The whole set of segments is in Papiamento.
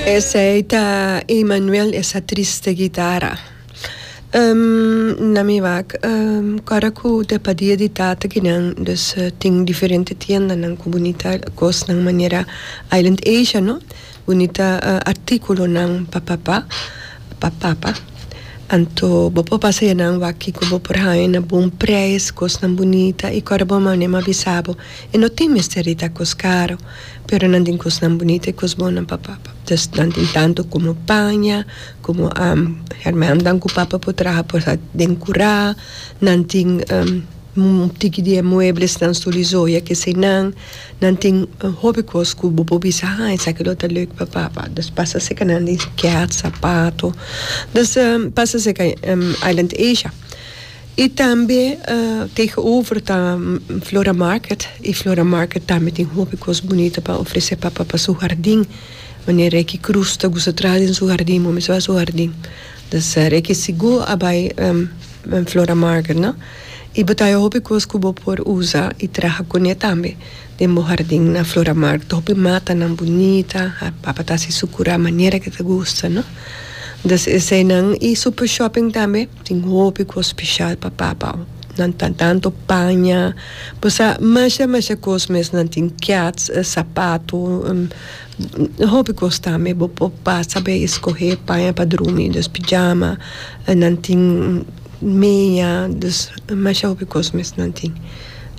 Esei ta Emanuel esa triste guitara. Na mi wak kòrda ku ta pa dia di tata kinan dus tin diferente tiendanan ku bunita kosnan manera Island Asia no bunita artíkulonan pa papa pa papa anto bo por pasa yanan wak kiko bo por haña na bon preis kosnan bunita i kòrda bo mane mi a bisa bo e no tin mester di ta kos karo. Pero nan tin kosnan bunita i kos bon nan pa papa. Dus nan tin tantu komo paña, komo hèrmèntnan ku papa por traha por sa den kurá. Nan tin un tiki di e mueblesnan, stul i zoya keseinan. Nan tin hopi kos ku bo por bisa, ha esaki lo ta lèuk pa papa. Dus pasa seka nan di kèt, sapato. Dus pasa seka Island Asia. I tambe tegenover ta Flora Market i Flora Market tambe tin hopi kos bunita pa ofresé papa pa su hardin. Manera Ricky Cruz ta gusta traha den su hardin, bo mester bai su hardin. Dus Ricky sigur a bai Flora Market no. I bo ta haña hopi kos ku bo por usa i traha kuné tambe den bo hardin na Flora Market. Hopi matanan bunita, papa ta hasi su kurá manera ke ta gusta no. Dus eseinan i super shopping tambe. Tin hopi kos speshal pa papa. Nan ta tantu paña, bo sa masha masha kos mes. Nan tin kèts, sapato, hopi kos tambe. Bo por pasa bay eskohé paña pa drumi, dus pijama. Nan tin meña, dus masha hopi kos mes nan tin.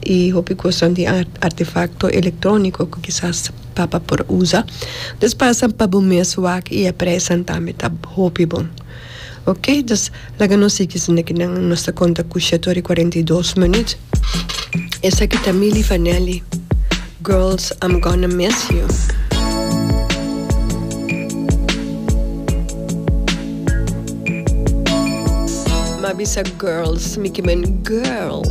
I hopi kos nan tin artefakto elektróniko ku kisas papa por usa. Dus pasa pa bo mes wak i e preisnan tambe ta hopi bon. Ok, dus laga nos sigui esaki kinan nos ta konta ku shete ora i 42 minüt. Esaki ta Milli Vanelli, Girls I'm Gonna Miss You. M'a bisa girls, mi ke men girl.